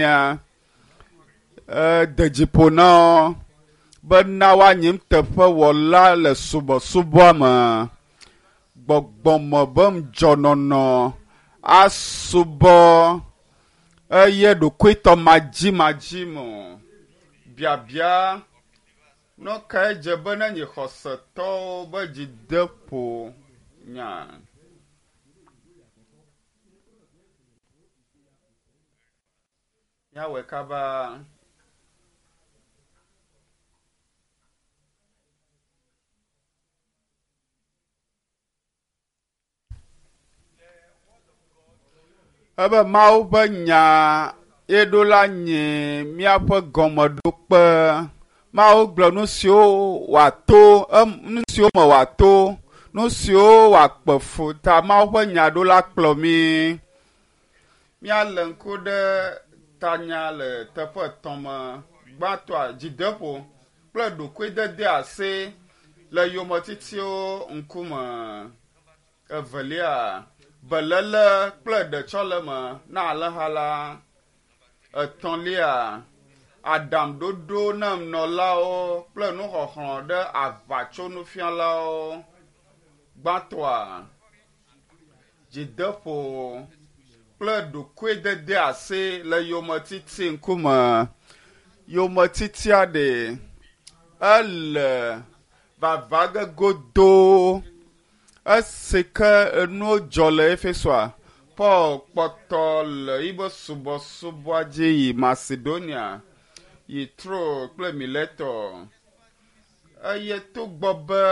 mia de dzi ƒo na wo bena woanyi nuteƒewɔla le subɔsubɔa me. Gbɔgbɔme be ŋudzɔnɔnɔ asubɔ eye ɖokuitɔ madzimadzi me o. Biabia nu kae dze be ne nyi xɔsetɔwo be dzideƒo nya? Míawɔe kaba. Ebe Mawu ƒe nya ye ɖo la nyi míaƒe gɔmeɖokpe. Mawu gblɔ nu siwo wòato, nu siwo me wòato, nu siwo wòakpe fu ta Mawu ƒe nya ɖo la kplɔ mí. Míalé ŋku ɖe tanya le teƒe etɔ̃ me. Gbãtɔa, dzideƒo kple ɖokuidedeasi le yometitiwo ŋkume. Evelia, beléle kple ɖetsɔleme na alẽha la. Etɔ̃lia, aɖaŋuɖoɖo na nunɔlawo kple nuxɔxlɔ̃ ɖe aʋatsonufialawo. Gbãtɔa, dzideƒo kple ɖokuidedeasi le yometiti ŋkume. Yometitia ɖe ele vava ge godoo. Esi ke enuwo dzɔ le Efesoa, Paul kpɔtɔ le yibe subɔsubɔa dzi yi Macedonia, yi Tro kple Mileto. Eye togbɔ be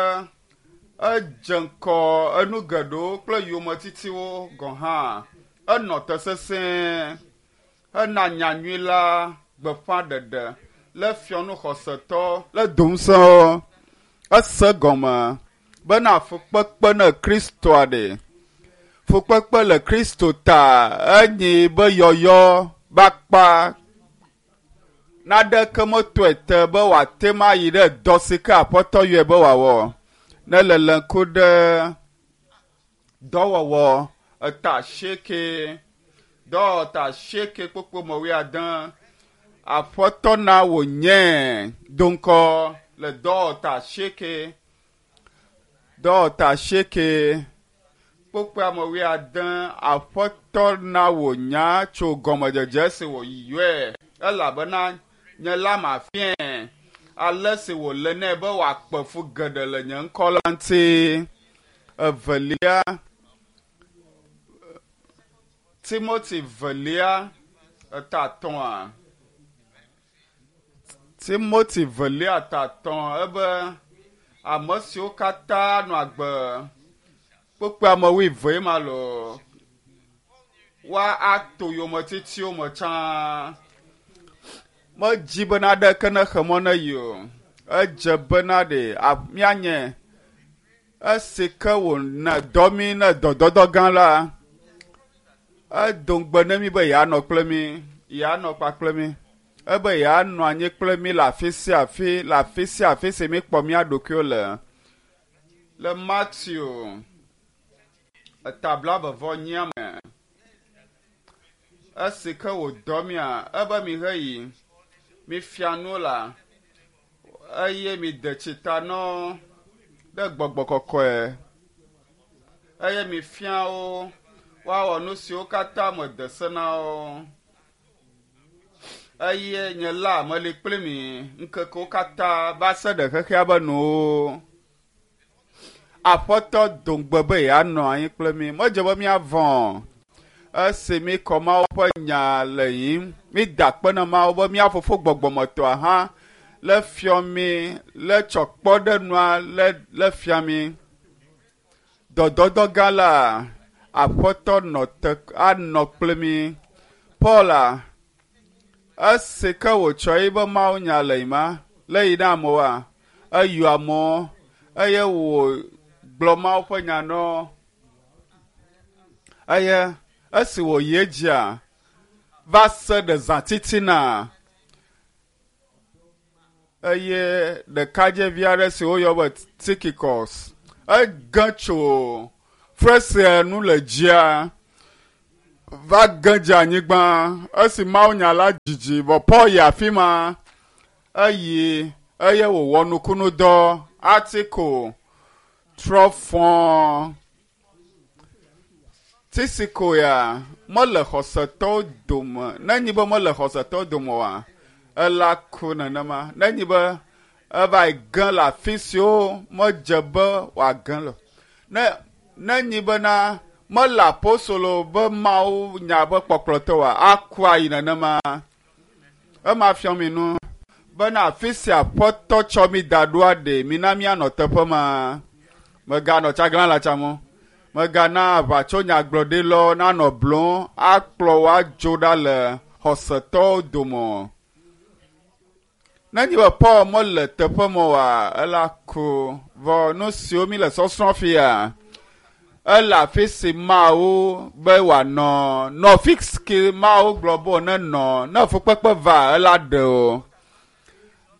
edze ŋkɔ enu geɖewo kple yometitiwo gɔ̃ hã, enɔ te sesẽ hena nyanyui la gbeƒãɖeɖe le fiɔnu xɔsetɔ le do ŋusẽwo. Ese gɔme bena fukpekpe ne Kristoa ɖe. Fukpekpe le Kristo ta enyi be yɔyɔ be akpa naɖeke metɔe te be wòate ŋu ayi ɖe dɔ si ke Aƒetɔ yɔe be wòawɔ. Ne lele ŋku ɖe dɔwɔwɔ eta asieke, dɔwɔwɔ eta asieke kpokpo me wuiade, Aƒetɔ na wònyae do ŋkɔ le dɔwɔwɔ eta asieke, dɔwɔwɔ eta asieke kpokpo ame wuiade, Aƒetɔ na wònya tso gɔmedzedze si wòyɔe elabena nye la mafiae ale si wòle nɛ be wòakpe fu geɖe le nye ŋkɔ la ŋuti. Evelia, Timoti velia eta etɔ̃a. Timoti velia eta etɔ̃ ebe ame siwo katã nɔ agbe kpokpo ame wuieve ma loo woato yometitiwo me tsã. Medzi be naɖeke nexe mɔ ne yi o. Edze bena ɖe míanye esi ke wòna dɔ mí ne dɔdɔdɔ gã la, edo ŋugbe ne mí be yeanɔ kple mí, yeanɔ kpakple mí. Ebe yeanɔ anyi kple mí le afi sia afi, le afi sia afi si míkpɔ mía ɖokuiwo le. Le Mateo eta blaeve-vɔ-enyia me, esi ke wòdɔ mía, ebe miheyi, mifia nu la, eye mide tsi ta na wo ɖe gbɔgbɔ kɔkɔe eye mifia wo woawɔ nu siwo katã mede se na wo. Eye nye la meli kpli mi ŋkekewo katã va se ɖe xexea be nuwo. Aƒetɔ do ŋugbe be yeanɔ anyi kple mí. Medze be míavɔ̃ o. Esi míkɔ Mawu ƒe nya le yiyim, mída akpe na Mawu be mía Fofo gbɔgbɔmetɔa hã le fiɔ mí, le tsɔ kpɔ ɖe nua le le fia mí. Dɔdɔdɔ gã la, Aƒetɔ nɔ te anɔ kple mí. Paula, esi ke wòtsɔ eƒe mawunya le yima, le yi na amewoa, eyɔ amewo eye wògblɔ Mawu ƒe nya na wo. Eye esi wòyi edzia, va se ɖe zã titina eye ɖekadzɛvi aɖe si woyɔ be Tikikɔs ege tso fesrea nu le dzia. Va ge dze anyigba esi mawunya la dzidzi vɔ Paul yi afi ma eyi eye wòwɔ nukunudɔ Atiko trɔ fɔ Tisiko ya mele xɔsetɔwo dome nenyi be mele xɔsetɔwo dome oa ela ku nenema nenyi be eva yi ge le afi siwo medze be wòage le ne nenyi bena mele apostolo be Mawu nya be kpɔkplɔtɔ oa aku ayi nenema. Ema fiɔ mi nu bena afi sia Aƒetɔ tsɔ mi da ɖoa ɖe mina míanɔ teƒe ma. Meganɔ tsaglã la tsam o. Megana aʋatsonyagblɔɖilawo nanɔ blɔm akplɔ wo adzo ɖa le xɔsetɔwo dome o. Nenye be Paul mele teƒe ma oa, ela ku. Vɔ nu siwo mi le sɔsrɔ̃ fia, ele afi si Mawu be wòanɔ. Nɔ fi si Mawu gblɔ be nenɔ. Ne fukpekpe va, ela ɖe o.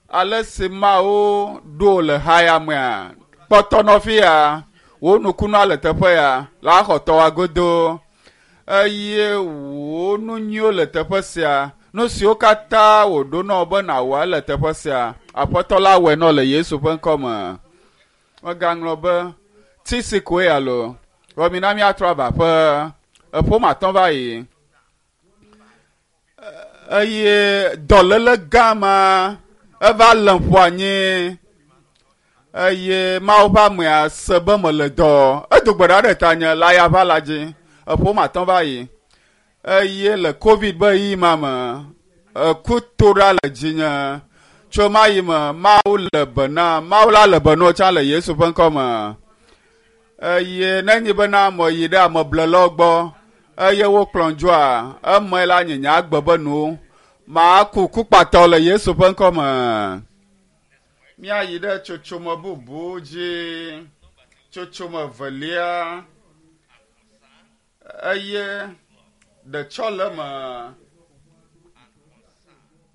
Ale si Mawu ɖo le ha ya mea, kpɔtɔ nɔ fi ya. Wò nukunua le teƒe ya, la xɔ tɔwa godo. Eye wò nu nyuiwo le teƒe sia. Nu siwo katã wòɖo na wò be nàwɔ le teƒe sia. Aƒetɔ la wɔe nɔ le Yesu ƒe ŋkɔ me. Megaŋlɔ be tisi koe alo vɔ mina míatrɔ ava aƒe. Eƒome atɔ̃ va yi. Eye dɔléle gã ma eva lém ƒu anyi eye Mawu ƒe amea se be mele dɔ. Edo gbe ɖa ɖe tanye le ayaʋa la dzi. Eƒome atɔ̃ va yi. Eye le Covid be ɣeyiɣi ma me, eku to ɖa le dzinye. Tso ma yi me, Mawu le be na, Mawu la le be na wo tsã le Yesu ƒe ŋkɔ me. Eye nenye bena meyi ɖe ameblelawo gbɔ eye wokplɔm dzoa, eme la nye nye agbe be nu maku kukpatɔ le Yesu ƒe ŋkɔ me. Míayi ɖe tsotsome bubu dzi, tsotsome evelia eye ɖetsɔleme,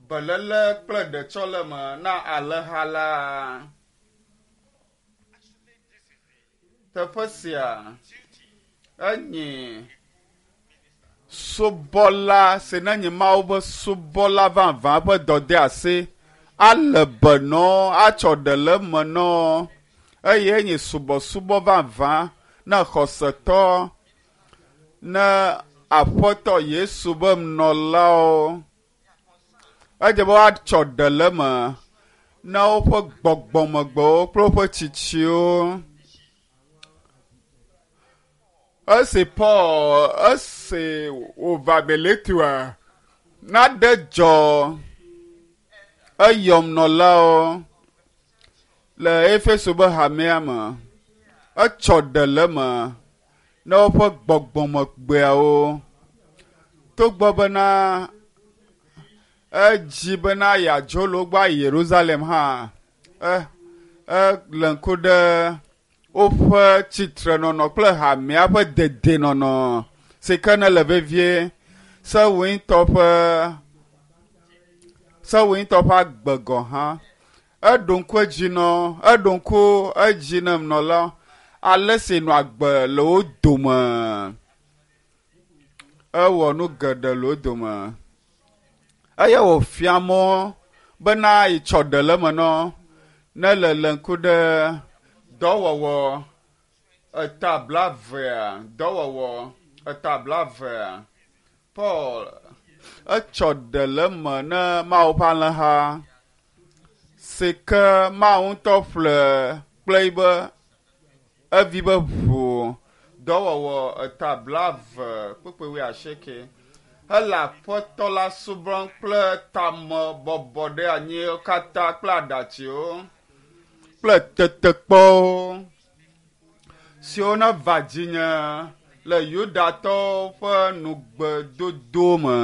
beléle kple ɖetsɔleme na alẽha la. Teƒe sia enye subɔla si nenye Mawu ƒe subɔla vavã ƒe dɔdeasi ale be nɔ atsɔ ɖe le eme nɔ eye enye subɔsubɔ vavã na xɔsetɔ ne Aƒetɔ Yesu be nɔlawo. Edze be woatsɔ ɖe le eme na woƒe gbɔgbɔmegbewo kple woƒe tsitsiwo. Esi Paul esi wòva Miletua, nane dzɔ eyɔm nɔlawo le Efeso be hamea me. Etsɔ ɖe le eme na woƒe gbɔgbɔmegbeawo. Togbɔ bena edzi bena yeadzo le wo gbɔ ayi Yerusalem hã, e ele ŋku ɖe woƒe tsitrenɔnɔ kple hamea ƒe dedienɔnɔ si ke ne le vevie sewuitɔ ƒe sewuitɔ ƒe agbe gɔ̃ hã. Eɖo ŋku edzi nɔ eɖo ŋku edzi ne nɔla ale si nɔ agbe le wo dome. Ewɔ nu geɖe le wo dome eye wòfia mɔ bena yitsɔ ɖe le eme nɔ ne le le ŋku ɖe dɔwɔwɔ eta blaevea dɔwɔwɔ eta blaevea Paul etsɔ ɖe le eme ne Mawu ƒe alẽha si ke Mawu ŋutɔ ƒle kple yibe evi be ʋu dɔwɔwɔ eta blaeve kpukpui wuiasieke hele Aƒetɔ la subɔm kple tame bɔbɔ ɖe anyiwo katã kple aɖatsiwo kple tetekpɔwo siwo neva dzinye le Yudatɔwo ƒe nugbedodo me.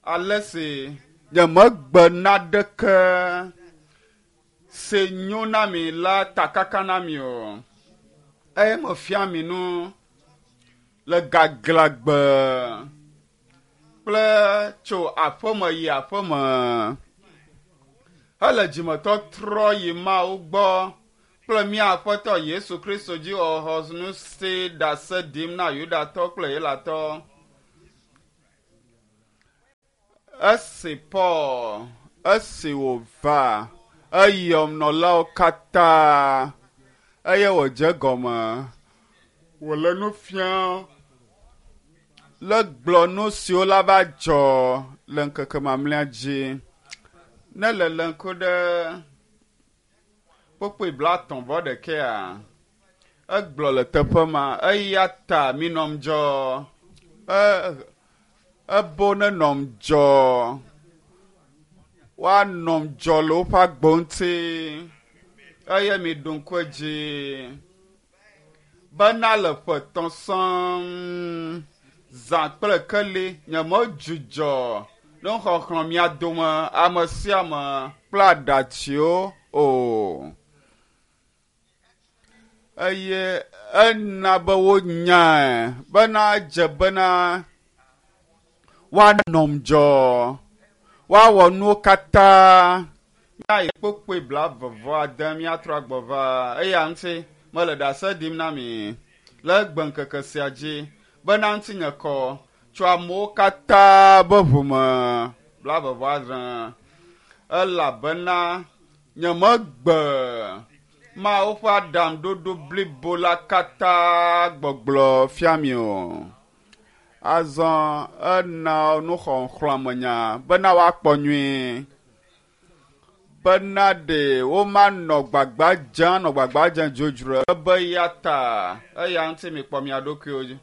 Ale si nyemegbe naɖeke si nyo na mi la takaka na mi o eye mefia mi nu le gaglãgbe kple tso aƒeme yi aƒeme hele dzimetɔtrɔ yi Mawu gbɔ. kple mía Aƒetɔ Yesu Kristo dzi xɔxɔ ŋuti ɖase ɖim na Yudatɔ kple Helatɔ. Esi Paul, esi wòva, eyɔ nɔlawo katã eye wòdze egɔme wòle nu fiam le gblɔ nu siwo la va dzɔ le ŋkeke mamlɛa dzi. Ne lele ŋku ɖe kpukpui blaetɔ̃ vɔ ɖekɛa, egblɔ le teƒe ma, eya ta minɔ ŋudzɔ. E, ebo nenɔ ŋudzɔ. Woanɔ ŋudzɔ le woƒe agbo ŋuti eye miɖo ŋku edzi bena le ƒe etɔ̃ sɔŋ zã kple keli nyemedzudzɔ nuxɔxlɔ̃ mia dome ame sia ame kple aɖatsiwo o. Eye ena be wonyae bena edze bena woanɔ ŋudzɔ, woawɔ nuwo katã. Míayi kpukpui blaeve vɔ ade míatrɔ agbɔ va. Eya ŋuti mele ɖase ɖim na mi le egbe ŋkeke sia dzi bena ŋutinye kɔ tso amewo katã be ʋu me blaeve vɔ adre elabena nyemegbe Mawu ƒe aɖaŋuɖoɖo blibo la katã gbɔgblɔ fia mi o. Azɔ ena nuxɔxlɔ̃amenya bena woakpɔ nyuie bena ɖe womanɔ gbagba dzem anɔ gbagba dzem dzodzro ebe eya ta eya ŋuti mikpɔ mia ɖokuiwo dzi.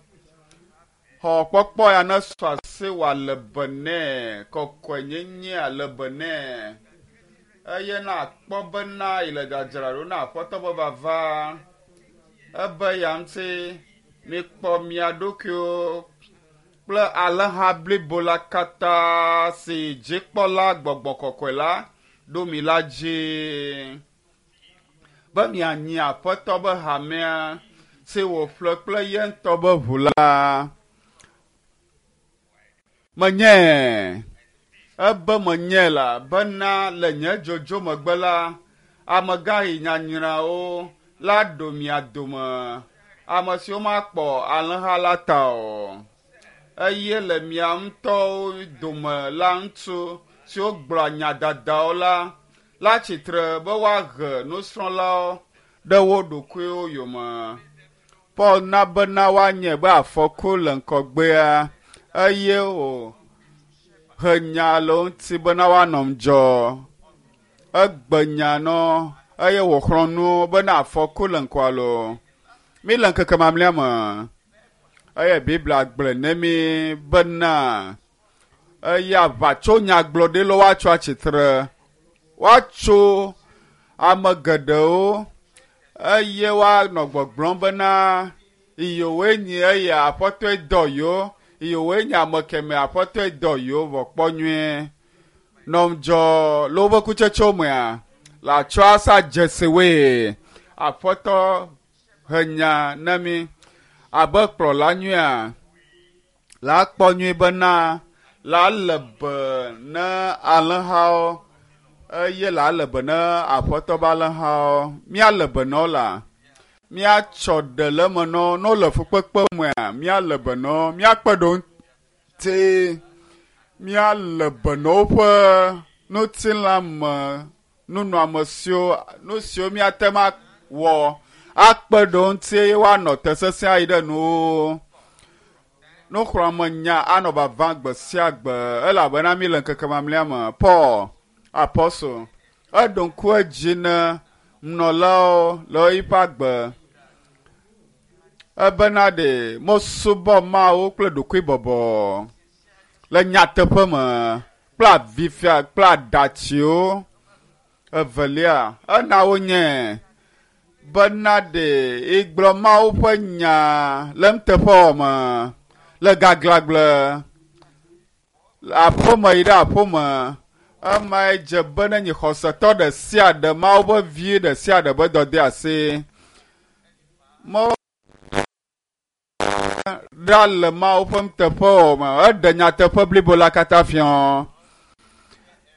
Xɔ kpɔkpɔ ya ne sɔ asi wòale be nɛ, kɔkɔenyenye ale be nɛ. Eye na akpɔ bena yi le dzadzraɖo na Aƒetɔ be vava. Ebe ya ŋuti mikpɔ mia ɖokuiwo kple alẽha blibo la katã si dzikpɔla gbɔgbɔ kɔkɔe la ɖo mi la dzi be mianyi Aƒetɔ be hamea si wòƒle kple ye ŋutɔ be ʋu la. Menyae, ebe menyae la bena le nye dzodzo megbe la, amegãɣi nyanyrawo la ɖo mia dome, ame siwo makpɔ alẽha la ta o. Eye le mia ŋutɔwo dome la ŋutsu siwo gblɔa nya dadawo la, la tsitre be woahe nusrɔ̃lawo ɖe wo ɖokuiwo yome. Paul na bena woanyae be afɔku le ŋgɔgbea eye wòhe nya le wo ŋuti bena woanɔ ŋudzɔ. Egbe nya nɔ eye wòxlɔ̃ nu wo bena afɔku le ŋkɔa loo. Míle ŋkeke mamlɛa me eye Biblia gblɔe ne mí bena eye aʋatsonyagblɔɖilawo woatso atsitre, woatso ame geɖewo eye woanɔ gbɔgblɔm bena yewoe nyi eya Aƒetɔe dɔ yewo, yewoe nye ame kemɛ Aƒetɔe dɔ yewo vɔ kpɔ nyuie. Nɔ ŋudzɔ le woƒe kutsetsewo mea, le atsɔ asa dzesiwoe. Aƒetɔ he nya na mí abe kplɔla nyuia la kpɔ nyuie bena la le be ne alẽhawo eye la le be ne Aƒetɔ be alẽhawo. Míale be na wo la, míatsɔ ɖe le eme na wo. Ne wole fukpekpe mea, míale be na wo, míakpe ɖe wo ŋuti, míale be na woƒe ŋutilã me nunɔamesiwo, nu siwo míate ŋu awɔ akpe ɖe wo ŋuti eye woanɔ te sesĩe ayi ɖe nuwo. Nuxlɔ̃amenya anɔ vava gbe sia gbe elabena míle ŋkeke mamlɛa me. Paul, apɔstol, eɖo ŋku edzi na nunɔlawo le eƒe agbe ebena ɖe mesubɔ Mawu kple ɖokuibɔbɔ le nyateƒe me kple avifia kple aɖatsiwo. Evelia, ena wonyae bena ɖe yegblɔ Mawu ƒe nya le nuteƒewɔwɔ me, le gaglãgbe, le aƒeme yi ɖe aƒeme. Emae dze be nenyi xɔsetɔ ɖe sia ɖe, Mawu ƒe vi ɖe sia ɖe ƒe dɔdeasi. Ɖa le Mawu ƒe nuteƒewɔwɔ me. Eɖe nyateƒe blibo la katã fia.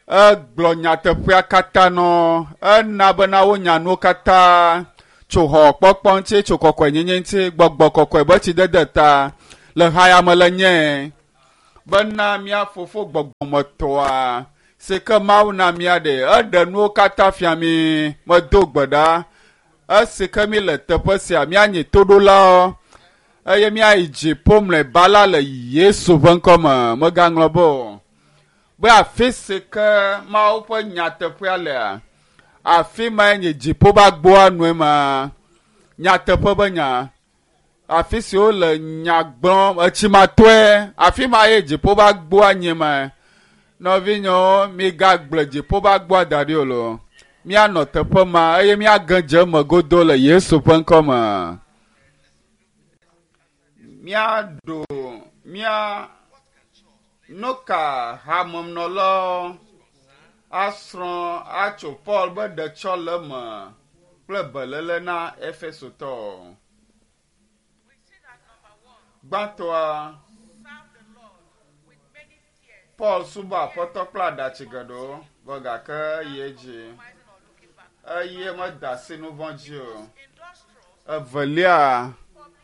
Egblɔ nyateƒea katã nɔ. Ena bena wonya nuwo katã. Tso xɔ kpɔkpɔ ŋuti, tso kɔkɔenyenye ŋuti, gbɔgbɔ kɔkɔe be tsidede ta le haya me le nye bena mía fofo gbɔgbɔmetɔa si ke Mawu na mía ɖe eɖe nuwo katã fia mí medo gbe ɖa esi ke mí le teƒe sia míanyi toɖolawo eye míayi dziƒo mlɔeba la le Yesu ƒe ŋkɔ me megaŋlɔ be o be afi si ke Mawu ƒe nyateƒea lea afi mae nye dziƒo ƒe agboa nue ma nyateƒe be nya afi si wole nya gblɔm etsimatɔe afi ma ye dziƒo ƒe agboa nye ma nɔvinyewo migagblẽ dziƒo ƒe agboa da ɖi o lo míanɔ teƒe ma eye míage dze eme godo le Yesu ƒe ŋkɔ me míaɖo mía nu ka hamenɔlawo asrɔ̃ atso Paul be ɖetsɔleme kple beléle na Efesotɔwo. We see that number one, Gbãtɔa, serve the Lord with many tears, Paul subɔ aƒetɔ kple aɖatsi geɖewo vɔ gake eyi edzi compromising or looking back. eye meda asi nu vɔ̃ dzi o. Industrious, Evelia, publicly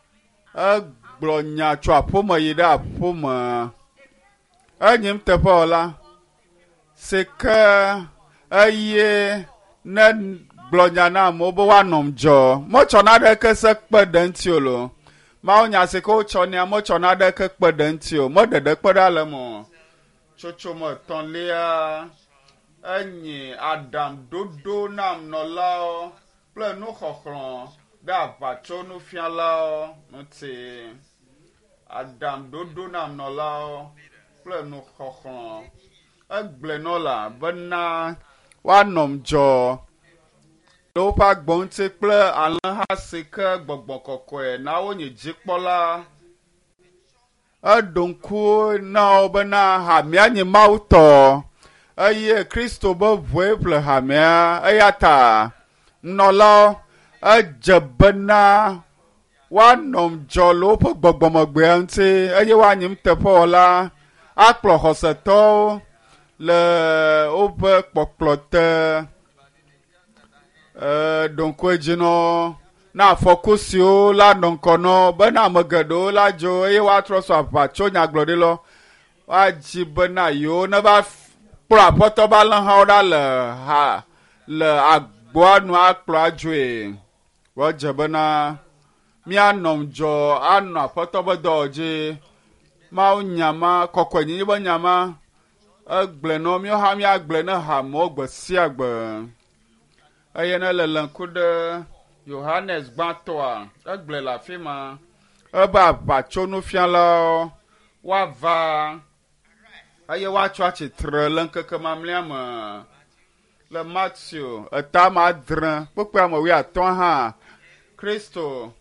egblɔ nya tso aƒeme yi ɖe aƒeme. Enyim teƒewɔla si ke eye ne gblɔ nya na amewo be woanɔ ŋudzɔ. Metsɔ naɖeke se kpe ɖe ŋuti o lo. Mawu nya si ke wotsɔ nea metsɔ naɖeke kpe ɖe ŋuti o. Meɖeɖe kpe ɖe ale me o. Tsotsome etɔ̃lia enyi aɖaŋɖoɖo na nɔlawo kple nuxɔxlɔ̃ ɖe aʋatsonufialawo ŋuti. Aɖaŋɖoɖo na nɔlawo kple nuxɔxlɔ̃. Egblɔe nɔ la bena woanɔ ŋudzɔ le woƒe agbe ŋuti kple alẽha si ke gbɔgbɔ kɔkɔe na wonye dzikpɔla. Eɖo ŋku na wo bena hamea nye Mawu tɔ eye Kristo be ʋue ƒle hamea eya ta nɔlawo edze bena woanɔ ŋudzɔ le woƒe gbɔgbɔmegbea ŋuti eye woanyi nuteƒewɔla akplɔ xɔsetɔwo le woƒe kpɔkplɔ te. Eɖo ŋku edzi nɔ na afɔku siwo la nɔ ŋkɔ nɔ bena ame geɖewo la dzo eye woatrɔ sɔ aʋatso nyagblɔɖilɔ woadzi bena yewo ne va kplɔ aƒetɔ be alẽhawo ɖa le ha le agboa nu akplɔ adzoe. Woadze bena míanɔ ŋudzɔ anɔ aƒetɔ be dɔ dzi. Mawu nya ma kɔkɔenyenye be nya ma egblɔe nɔ míawo hã míagblɔe ne hamewo gbe sia gbe. Eye ne le lé ŋku ɖe Yohanes gbãtɔa egblɔe le afi ma ebe aʋatsonufialawo woava eye woatso atsitre le ŋkeke mamlɛa me. Le Mateo etame adre kpukpui ame wuiatɔ̃ hã Kristo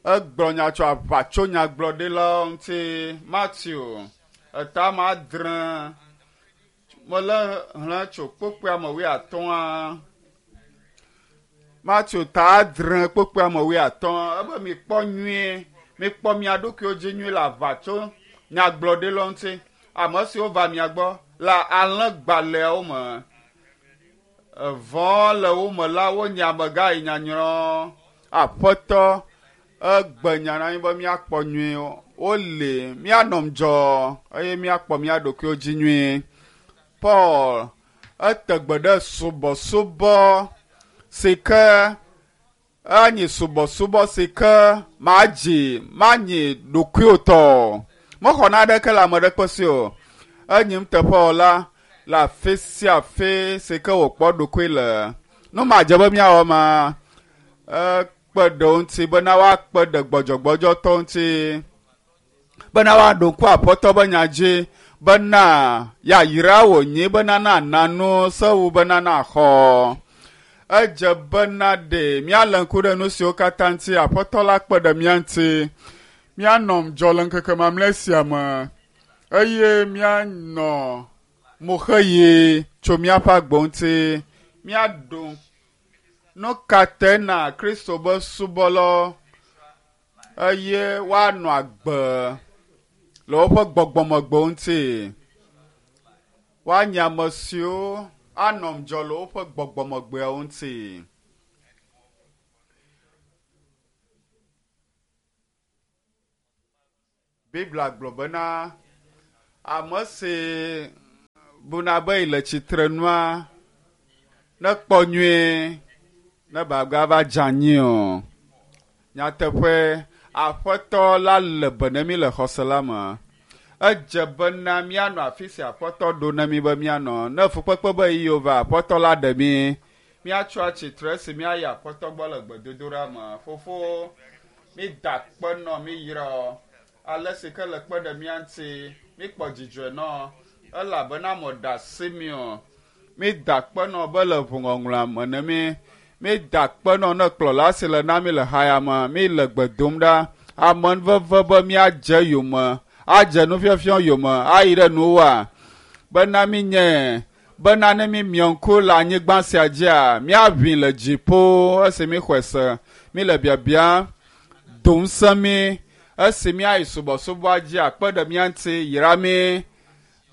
egblɔ nya tso aʋatsonyagblɔɖilawo ŋuti. Mateo etame adre mele xlẽ tso kpukpui ame wuiatɔ̃a. Mateo ta adre kpukpui ame wuiatɔ̃ ebe mikpɔ nyuie mikpɔ mia ɖokuiwo dzi nyuie le aʋatso nyagblɔɖilawo ŋuti. Ame siwo va mia gbɔ le alẽgbalẽawo me evɔ le wo me la wonye amegã yi nyanyrɔ aƒetɔ egbe nya na mí be míakpɔ nyuie wole míanɔ ŋudzɔ eye míakpɔ mía ɖokuiwo dzi nyuie. Paul ete gbe ɖe subɔsubɔ si ke enyi subɔsubɔ si ke madzi manyi ɖokuiwò tɔ o. Mexɔ naɖeke le ame ɖekpe si o. Enyi nuteƒewɔla le afi sia afi si ke wòkpɔ ɖokui le. Nu madze be míawɔ ma ekpe ɖe wo ŋuti bena woakpe ɖe gbɔdzɔgbɔdzɔtɔwo ŋuti bena woaɖo ŋku aƒetɔ be nya dzi bena yayra wònyi bena nana nu sewu bena naxɔ. Edze bena ɖe míalé ŋku ɖe nu siwo katã ŋuti aƒetɔ la kpe ɖe mía ŋuti. Míanɔ ŋudzɔ le ŋkeke mamlɛ sia me eye míanɔ moxeɣi tso míaƒe agbe ŋuti. Míaɖo nu ka te na Kristo be subɔlawo eye woanɔ agbe le woƒe gbɔgbɔmegbewo ŋuti. Woanye ame siwo anɔ ŋudzɔ le woƒe gbɔgbɔmegbeawo ŋuti. Biblia gblɔ bena ame si buna be yi le tsitre nua nekpɔ nyuie ne bagba va dze anyi o. Nyateƒe aƒetɔ la le be ne mi le xɔse la me. Edze bena míanɔ afi si aƒetɔ ɖo na mí be míanɔ. Ne fukpekpe be yiwo va aƒetɔ la ɖe mí. Míatso atsitre esi míayi aƒetɔ gbɔ le gbedodoɖa me. Fofo, mí da akpe nɔ mí yrɔ ale si ke le kpe ɖe mía ŋuti. Míkpɔ dzidzɔe nɔ elabena meɖe asi mi o. Mí da akpe nɔ be le ʋuŋɔŋlɔa me ne mí. Mí da akpe nɔ ne kplɔla si le na mí le haya me. Mí le gbe dom ɖa. Amenuveve be míadze yome, adze nufiafia yome, ayi ɖe nuwoa. Bena mí nye bena ne mí miɔ ŋku le anyigba sia dzia, míaʋĩ le dziƒo esi míxɔe se. Mí le biabia do ŋusẽ mí esi míayi subɔsubɔa dzi akpe ɖe mía ŋuti yra mí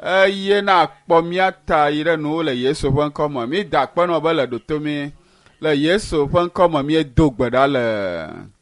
eye na kpɔ mía ta yi ɖe nuwo le Yesu ƒe ŋkɔ me. Mí da akpe nɔ be le ɖoto mí. Le Yesu ƒe ŋkɔ me míedo gbe ɖa le.